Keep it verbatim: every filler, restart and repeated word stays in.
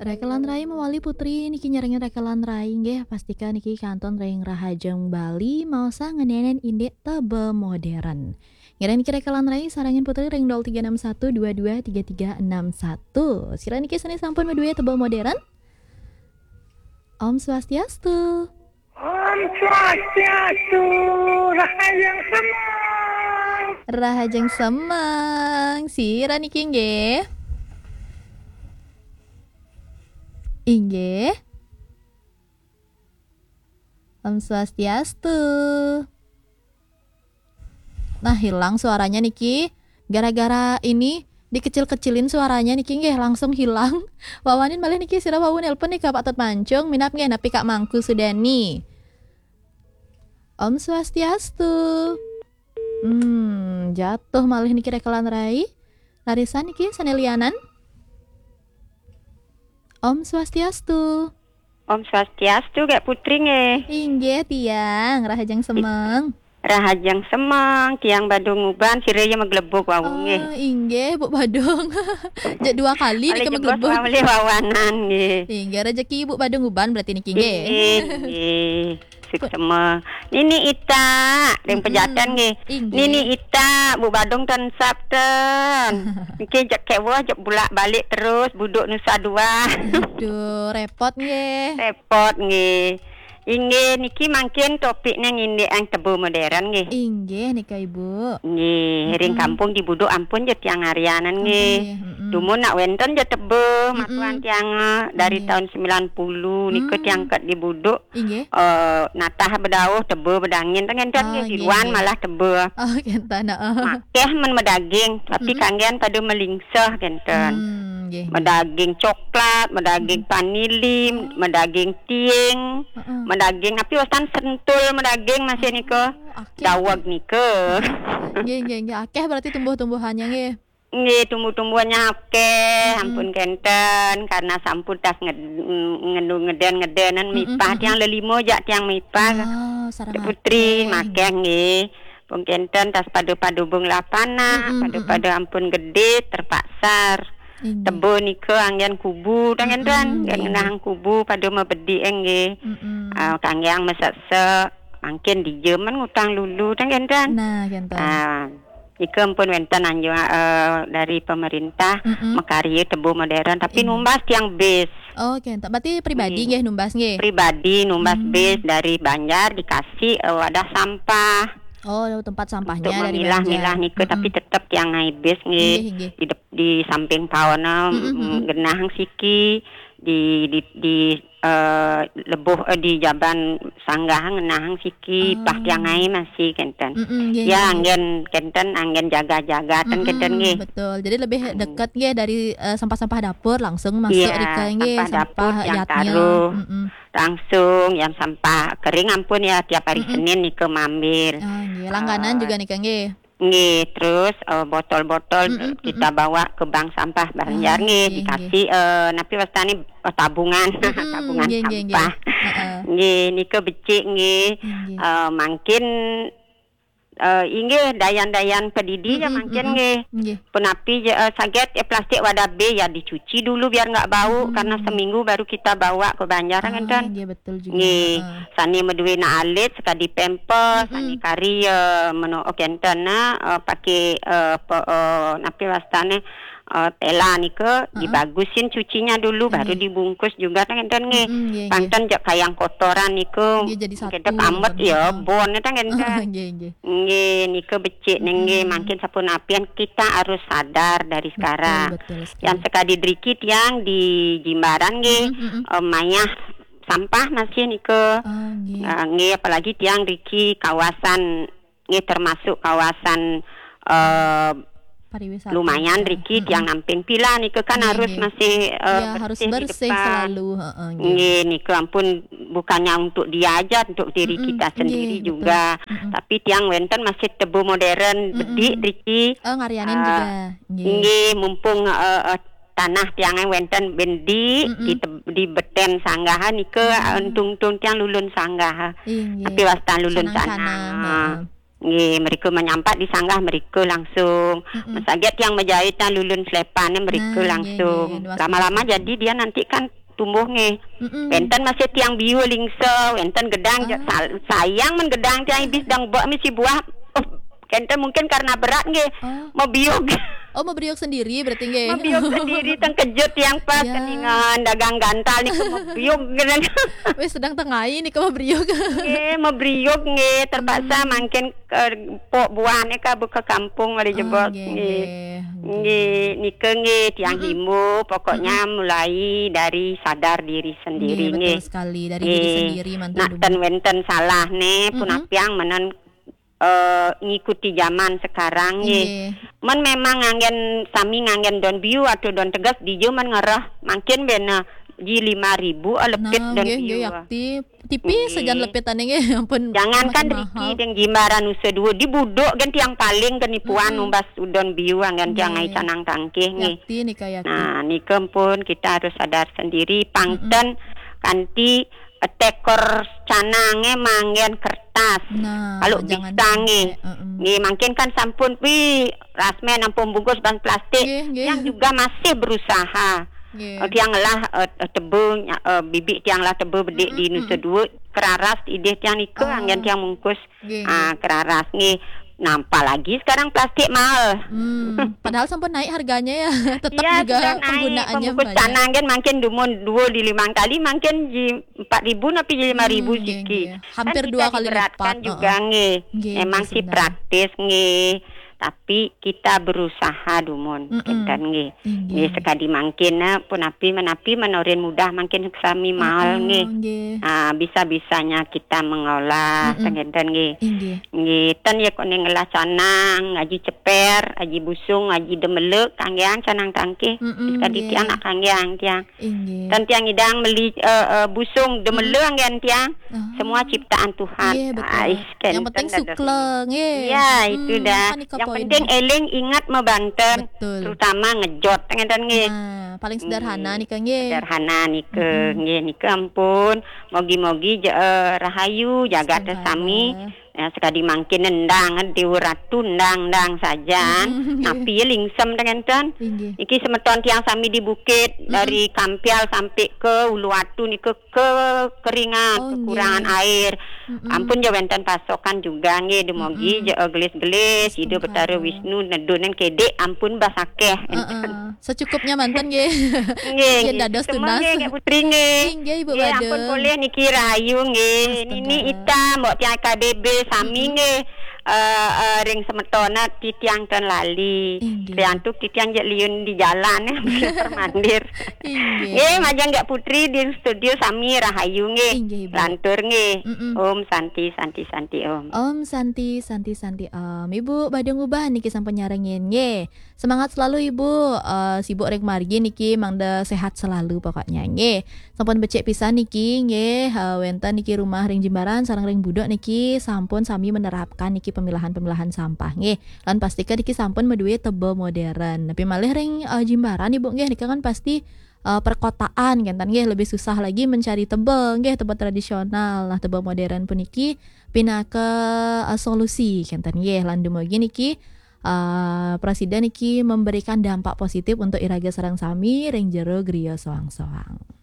Rekelan rai mawali Putri niki nyarengin rekelan rai nggih, pastika niki kantun ring Rahajeng Bali maosang ngeninin indik teba modern. Ngiring niki rekelan rai sarengin Putri ring nol tiga enam satu dua dua tiga tiga enam satu. Sira niki sane sampun maduwe teba modern? Om Swastiastu. Om Swastiastu, Rahajeng Semeng. Rahajeng Semeng, sira niki nggih? Inggih. Om Swastiastu. Nah, hilang suaranya niki. Gara-gara ini dikecil-kecilin suaranya niki nggih langsung hilang. Wawanin malih niki sira wau nelpon nika Pak Tut Mancung, minab nggih napi Kak Mangku Sudani. Om Swastiastu. Hmm, jatuh malih niki rekelan rai. Larisan niki sane lianan. Om Swastiastu. Om Swastiastu, Kak Putri nggih. Inggih tiang, Rahajeng Semeng. Rahajeng Semeng, tiang Badung Uban, sira ya maglebug wau nggih. Oh, inggih, Bu Badung. Jak dua kali nika maglebug. Oleh wawanan nggih. Inggih, rejeki Bu Badung Uban berarti niki nggih. Nggih, nggih. Suksma. Nini Ita, ring Pejaten nggih. Inggih. Nini Ita, Bu Badung ten sap ten. Niki jak keweh, jak bulak balik terus, buduk nusa dua. Aduh, repot nggih. Repot nggih. Inggih, niki mangkin topiknya ngindik yang teba modern nggih. Inggih nika Ibu. Nggih, ring kampung di Buduk ampun je tiang arianan nggih. Ampun nggih, mm-mm. Dumun nak wenten je teba matuan tiang, eh, dari tahun sembilan puluh nika tiang ket di Buduk. Inggih. Eh, natah bedauh teba bedangin teng enten nggih, di luan malah teba. Oh, kenten, heeh. Makeh men medaging, tapi kanggian pada melingsah kenten. Hmm, nggih, nggih. Medaging coklat, medaging vanili, medaging tiing, medaging api wastan sentul, medaging masih nika. Oh, akeh. Daweg nika. Nggih, nggih, nggih. Akeh berarti tumbuh-tumbuhannya nggih. Nggih, tumbuh-tumbuhannya akeh, ampun kenten, karena sampun tas nged-, ngendu ngeden-ngedenan mipah, tiang lelima jak tiang mipah. Oh, sareng Putri, akeh, makeh nggih. Pun kenten tas pada-pada bung lapana, pada-pada ampun gede, terpaksa. Inggih. Teba nika anggen kubu, tang kenten, nggih, ngenang kubu pada mabedi nggih. Ah, kanggiang mesek-sek, mangkin dija men ngutang lulu, tang kenten. Nah, kenten. Ah, Nika ampun wenten anjuran, eh, dari pemerintah makarya teba modern, tapi numbas tiang bis. Oh, kenten. Berarti pribadi nggih numbas nggih? Pribadi numbas bis dari banjar dikasih, eh, wadah sampah. Oh, tempat sampahnya dari banjar. Untuk memilah-milah nika, tapi tetep tiang ngai bis nggih. Nggih, nggih. Di dep-, di samping paona, mm, genah siki, di, di, di eh, lebuh, eh, di jaban sanggah ngenahang siki, pah tiang ai masih kenten. Mm-mm, nggih, nggih, nggih. Ya, anggen kenten, anggen jaga-jaga ten kenten nggih. Betul. Jadi lebih deket nggih dari, eh, sampah-sampah dapur langsung masuk rika nggih, sampah dapur tiang taruh. Mm-mm. Langsung yang sampah kering ampun ya tiap hari Senin nika mambil. Ah, nggih. Langganan juga nika nggih. Nggih, terus, eh, botol-botol kita bawa ke bank sampah Banjar nggih, dikasih, eh, napi wastane, eh, tabungan, tabungan sampah. Heeh. Nggih, nika becik nggih. Nggih. Eh, mangkin, eh, inggih dayan-dayan pedidi ya mangkin nggih. Nggih. Punapi je, eh, saget, eh, plastik wadah B ya dicuci dulu biar nggak bau karena seminggu baru kita bawa ke Banjar kan. Ah, nggih, betul. Betul juga. Nggih, heeh. Sane maduena alit, sakadi pampers, sane kari, eh, meno, oh, kenten, nah, eh, pake, eh, pe-, eh, napi wastane, eh, tela nika, dibagusin cucinya dulu, baru dibungkus juga, tang kenten nggih. Mm-mm, nggih, nggih. Panten jak kayang kotoran niku, nggih, jadi satu, kenten amet ya, heeh. Bon, tang kenten. Oh, nggih, nggih. Nggih, nika becik nggih, mangkin sapunapian kita harus sadar dari sekarang. Betul, betul sekali. Yang sekadi driki tiang di Jimbaran nggih, eh, mayah sampah masih nika. Oh, nggih. Eh, nggih, apalagi tiang driki kawasan nggih termasuk kawasan, eh, pariwisata lumayan juga. Driki tiang namping pila nika kan harus masih, eh, ya, harus bersih di depan. Selalu, heeh, nggih. Nggih, nika ampun bukannya untuk dia aja, untuk diri kita sendiri juga. Nggih, betul. Tapi tiang wenten masih teba modern, bedik driki. Oh, ngarianin juga. Nggih. Nggih, mumpung, eh, eh, tanah tiang wenten bendi di te-, di beten sanggaha nika, eh, entung-entung tiang lulun sanggaha. Inggih. Tapi wastan lulun sanang-sanang, tanah. Heeh. Nggih, mrika menyampat disanggah mrika langsung. Mm-mm. Mesaget tiang majait nang lulun slepané mrika. Nah, nggih, langsung. Nggih. Lama-lama jadi dia nanti kan tumbuh nggih. Mm-mm. Wénten masih tiang biu lingsa, wénten gedang. Ah. Sal-, sayang men gedang tiang ibis dang bek misi buah. Oh, kénten mungkin karena berat nggih. Oh. Mabiug. Oh, mabiug sendiri berarti nggih. Mabiug sendiri, tengkejut tiang pas. Ya. Keningan dagang gantal nika mabiug. Wis sedang tengai nika mabiug. Nggih, mabiug nggih, terpaksa. Hmm. Mangkin ke pok buahnya ka buka kampung oleh. Oh, jebos nggih, nggih. Nggih. Nggih, nika nggih tiang. Mm-mm. Himbau, pokoknya. Mm-mm. Mulai dari sadar diri sendiri nggih, betul nggih. Sekali, dari diri. Nggih. Sendiri manten. Nak dumun. Ten wénten salah nih, mm-mm, punapiang menen, eh, ngikuti zaman sekarang nggih. Nggih. Men memang nganggen sami nganggen don biu atau don tegas dija men ngerah mangkin bena ji lima ribu, eh, lepit. Nah, don nggih, biu. Nggih, yakti. Tipis. Nggih. Sajan lepitané nggih, ampun. Jangankan makin riki mahal. Deng Jimbaran Nusa Dua, di Buduk kan tiang paling kenipuan. Mm-mm. Numbas udon biu anggan tiang. Nggih. Ai canang tangkih nggih. Yakti nika, yakti. Nah, nika pun kita harus sadar sendiri, pang ten. Mm-mm. Kanti, eh, tekor canangé manggen kertas. Nah, kalau bisa nggih. Jangan sampai. Mm-mm. Nggih, mangkin kan sampun pi rasmen ampun bungkus ban plastik. Nggih, nggih. Tiang juga masih berusaha. Nggih. Eh, tiang lah, eh, eh, teba, eh, bibik tiang lah teba bedik di. Mm-mm. Nusa Dua, keraras idih tiang nika. Ah. Anggen tiang mungkus. Nggih, ah, nggih. Keraras nggih. Nah, apalagi sekarang plastik mahal. Hmm, padahal sampun naik harganya ya, tetap. Iya, juga sudah naik. Penggunaannya pembungkus banyak. Canang kan mangkin dumun dua di lima kali, mangkin di empat ribu napi di lima ribu. Hmm, nggih, siki. Nggih. Hampir dua kali lipat. Kan kita diberatkan juga, heeh, nggih. Nggih, memang nggih, sih sebenarnya. Praktis nggih. Tapi kita berusaha dumun. Mm-mm. Kinten nggih. Inggih. Nggih, sekadi mangkin, eh, punapi menapi menorin mudah mangkin sami maol. Heeh, nggih. Nggih. Ah, bisa-bisanya kita mengolah. Mm-mm. Ten kinten nggih. Inggih. Nggih, ten ya kok ning ngelah canang, aji ceper, aji busung, aji demele, kanggeang canang tangkih. Mm-mm. Sekadi. Nggih. Tiang nak kanggeang tiang. Inggih. Ten tiang idang meli, eh, eh, busung, demele. Mm-mm. Anggen tiang. Ah. Semua ciptaan Tuhan. Nggih, betul. Ais. Yang penting sukle, nggih. Iya, itu dah. Hmm, kan nika poinnya. Yang penting eling, ingat, mebanten, betul, terutama ngejot, ngeten nggih. Nah, paling sederhana. Nggih. Nika nggih. Sederhana nika, mm-mm, nggih, nika ampun. Mogi-mogi je, eh, rahayu, jagat sami. Semoga. Ya, sekadi mangkin endang, Dewa Ratu endang, endang sajan. Mm-mm, nggih. Napi ya lingsem ngeten. Inggih. Iki semeton tiang sami di bukit, mm-mm, dari Kampial sampai ke Uluwatu nika kekeringan. Oh, nggih. Kekurangan air. Mm-mm. Ampun ja wénten pasokan juga nggih, dumogi. Mm-mm. Ja, eh, gelis-gelis, Ida Betara Astungkara. Wisnu nedunin kedik ampun basakeh. Heeh. Secukupnya manten nggih. Nggih, nggih. Yen dados tunas. Nggih, Kak Putri nggih. Inggih, Ibu. Nggih, Bade. Ampun polih niki rahayu nggih. Astungkara. Nini Ita, Mbok tiang K B B sami. Mm-mm. Nggih. Eh, eh, ring semetona titiang ten lali. Inggih. Riantuk titiang jek liun di jalan, eh, mandir. Inggih. Nggih, majeng Kak Putri di studio sami rahayu nggih. Inggih, Ibu. Lantur nggih. Mm-mm. Om Santi, Santi, Santi Om. Om Santi, Santi, Santi Om. Ibu, badhe ngubah niki sampun nyarengin nggih. Semangat selalu, Ibu. Eh, sibuk ring margi niki mangda sehat selalu pokoknya nggih. Sampun becik pisan niki nggih, eh, wénten niki rumah ring Jimbaran sareng ring Buduk niki sampun sami menerapkan niki pemilahan-pemilahan sampah nggih. Lan pastika niki sampun madué teba modern. Tapi malih ring, eh, Jimbaran Ibu nggih, nika kan pasti, eh, perkotaan kan nggih, lebih susah lagi mencari teba nggih, teba tradisional. Nah, teba modern puniki pinaka, eh, solusi kan nggih. Lan dumugi niki, eh, prasida niki memberikan dampak positif untuk iraga sareng sami ring jero griya soang-soang.